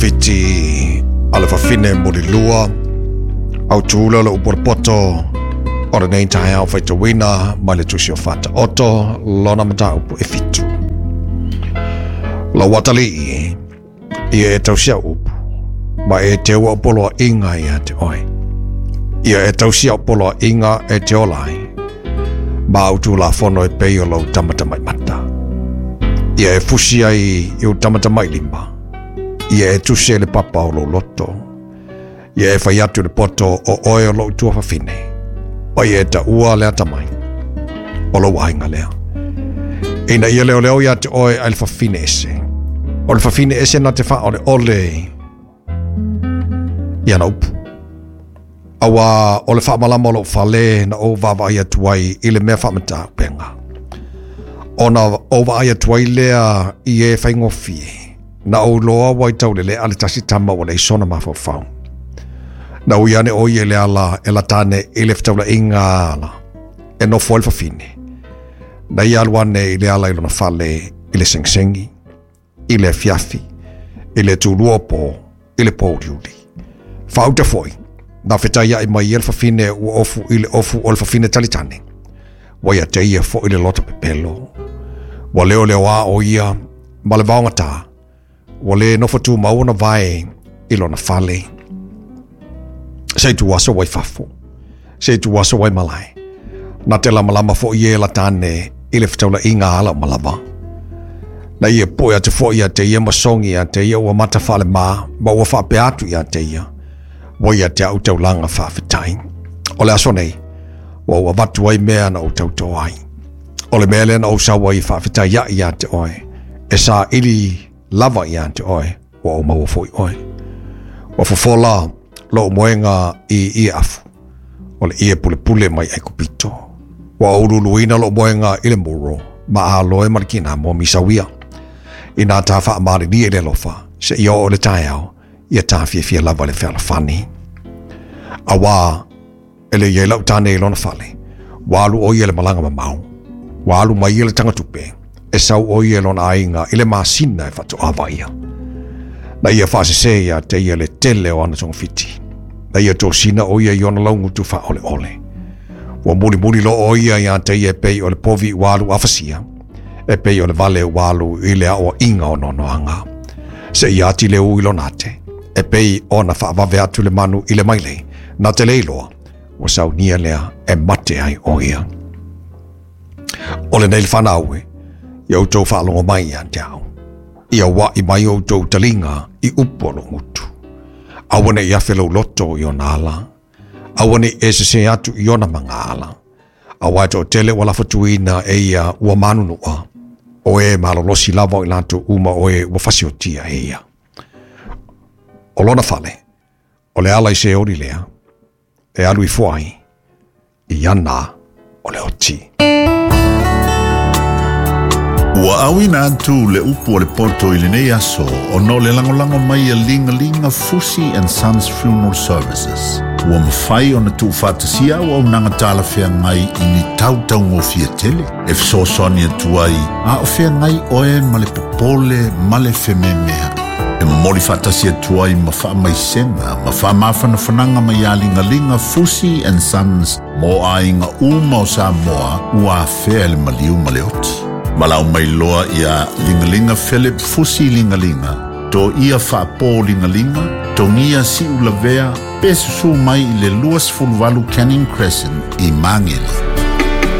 togafiti a le fafine mulilua, autu lea o le upu a le poto o lenei taeao faitauina mai le Tusi o Faataoto, lona mataupu e 7. Lau atalii, ia e tausi au upu, ma e teu au poloaiga ia te oe. Ia e tausi au poloaiga e te ola ai, ma au tulafono e pei o lou tamatamaimata. Ia e fusi ai i ou tamatamailima, ia e tusi ai le papa o lou loto. Ia e fai atu i le poto o oe o lou tuafafine, ma ia e taua le atamai o lou aiga lea. Ina ia leoleo ia te oe ai le fafine ese. O le fafine ese na te faaoleole i ana upu. Auā o le faamalama o lou fale na ou vaavaai atu ai i le mea faamataupenga. Ona ou vaai atu ai lea i e faigofie, na ou iloa ua i taulele'a le tasi tama ua leai sona mafaufau. Na ui ane ʻo ia i le ala e lata ane i le fetaulaiga ala e nofo ai le fafine. Na ia alu ane i le ala i lona fale i le segisegi, i le afiafi, i le tulua o pō, i le pō uliuli. Faauta foi, na fetaiaʻi mai ia le fafine ua ofu i le ofu o le fafine talitane. Ua ia te ia foi le loto pepelo. Ua leoleoā ʻo ia ma le vaogatā. Ua le nofo tumau ona vae i lona fale. Se ituaso ua i fafo. Se ituaso ua i malae. Na te lamalama foi ia e lata ane i le fetaulaiga ala o malava. Na ia poe atu foi ia te ia ma sogi ia te ia ua mata faalemā ma ua faapea atu ia te ia, ua ia te au taulaga faafetai. O le aso nei, ua ou avatu ai mea na ou tautō ai. O le mea lea na ou sau ai e faafetai aʻe ia te oe, e saili lava ia te oe, ua ou maua foi oe. Ua fofola lou moega i ie afu, o le ie pulepule mai Aikupito. Ua ou luluina lou moega i le muro, ma aloe ma le kinamo misauia. Inā ta faamalilie i le alofa, seia oo i le taeao, ia ta fiafia lava i le fealofani. Auā, e le i ai lau tane i lona fale, ua alu ʻo ia i le malaga mamao. Ua alu mai ia le tagatupe, e sau ʻo ia i lona aiga i le masina e faatoa vaaia. Na ia faasese ia te ia le tele o ana togafiti. Na ia tosina ʻo ia i ona laugutu faaoleole. Ua mulimuli loa ʻo ia ia te ia e pei o le povi ua alu afasia, e pei o le vale ua alu i le aoaiga o noanoaga. Seia ati le ū i lona ate, e pei ona faavave atu le manu i le mailei, na te le iloa, ua saunia lea e mate ai ʻo ia. O lenei le fanau e, ia outou faalogo mai ia te au. Ia uaʻi mai outou taliga i upu o lou gutu. Aua ne i afe lou loto i ona ala. Aua ne i e sesē atu i ona magaala. Auā e toatele ua lafatuina e ia ua manunuʻa, o e malolosi lava o i latou uma o e ua fasiotia e ia. O lona fale, o le ala i Seoli lea, e alu ifo ai i ana o le oti. Ua auina atu le upu a le poto i lenei aso ona o le lagolago mai a Ligalinga Fusi and Sons Funeral Services. Ua mafai ona tuufaatasia auaunaga talafeagai i ni tau taugofie tele e fesoasoani atu ai a o feagai oe ma le popole ma le fememeaʻi. E momoli faatasi atu ai ma faamaisega ma faamafanafanaga mai ia Ligaliga Fusi and Sons mo aiga uma o Samoa ua afea e le maliu ma le oti. Valaau mai loa ia Ligaliga Philip Fusi Ligaliga, Toia Faapo Ligaliga, Togia Siulavea, pe susū mai i le 28 Canning Crescent i Magele.